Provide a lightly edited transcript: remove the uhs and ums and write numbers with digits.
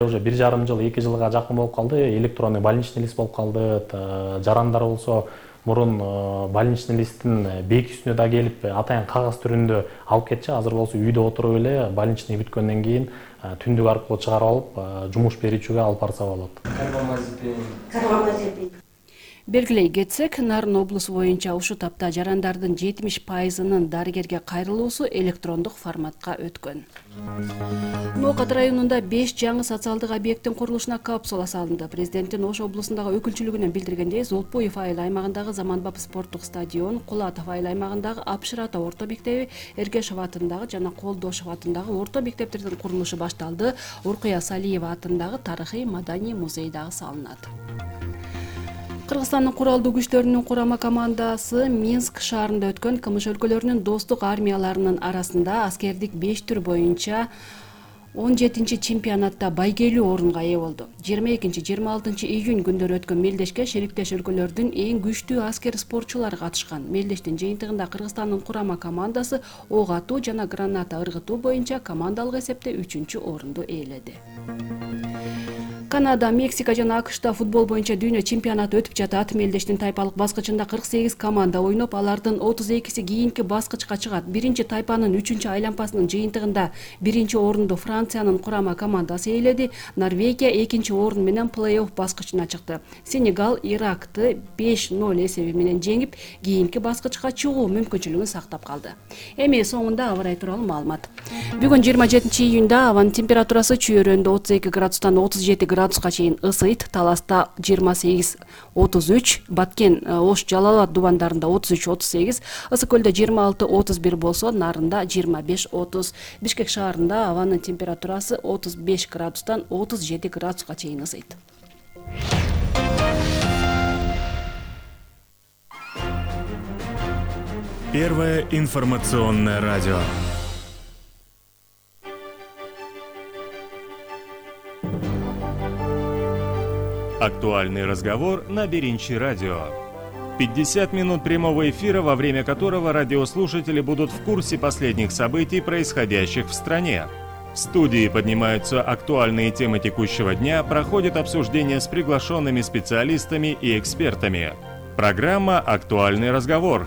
Уже 1,5 жыл, 2 жылга жакын болуп калды. Электронный больничный лист болуп калды. Жарандар болсо мурун больничный листтин бекисине да келип атайын кагаз түрүндө алып кетчү. Азыр болсо үйдө отуруп эле больничный бүткөндөн кийин түндүк аркылуу чыгарып алып жумуш берүүчүгө алып барса болот. Белгилей кетсек, Нарын облусу боюнча ушул тапта жарандардын 70%-нын дарыгерге кайрылуусу электрондук форматка өткөн. Ноокат районунда 5 жаңы социалдык объекттин курулушуна капсула салынды. Президенттин Ош облусундагы өкүлчүлүгүнөн билдиргендей, Золтбуев айыл аймагындагы Заманбап спорттук стадион, Кулатов айыл аймагындагы Апшырата орто мектеби, Эргешов атындагы жана Колдошов атындагы орто мектептердин курулушу башталды. Уркуя Салиева атындагы тарыхый маданий музей дагы салынат. Кыргызстандын куралдуу күчтөрүнүн курама командасы Минск шаарында өткөн КМШ өлкөлөрүнүн достук армияларынын арасында аскердик 5 түр боюнча 17-чи чемпионатта байгелүү орунга ээ болду. 22-26 июнь күндөрү өткөн мелдешке шериктеш өлкөлөрдүн эң күчтүү аскер спортчулары катышкан. Мелдештин жыйынтыгында Кыргызстандын курама командасы ок атуу жана граната ыргытуу боюнча командалык эсепте 3-чү орунду ээледи. Канада, Мексика жана АКШта футбол боюнча дүйнө чемпионаты өтүп жатат. Мелдештин тайпалык баскычында 48 команда ойноп, алардын 32си кийинки баскычка чыгат. Биринчи тайпанын 3-чү айланпасынын жыйынтыгында биринчи орунду Франциянын курама командасы ээледи. Норвегия экинчи орун менен плей-офф баскычына чыкты. Сенегал Иракты 5-0 эсеби менен жеңип, кийинки баскычка чыгуу мүмкүнчүлүгүн сактап калды. Эми соңунда аба ырайы тууралуу маалымат. Бүгүн 27 июнда абанын температурасы Чүйөрөндө 32 градустан 37 градуска чейин ысыйт. Таласта 28-33, Баткен, Ош, Жалал Абад дубандарында 33-38, Ысык көлдө 26-31 болсо, Нарында 25-30. Бишкек шаарында абанын температурасы 35 градустан 37 градуска чейин ысыйт. Первое информационное радио. Актуальный разговор на Беринчи радио. 50 минут прямого эфира, во время которого радиослушатели будут в курсе последних событий, происходящих в стране. В студии поднимаются актуальные темы текущего дня, проходит обсуждение с приглашенными специалистами и экспертами. Программа «Актуальный разговор».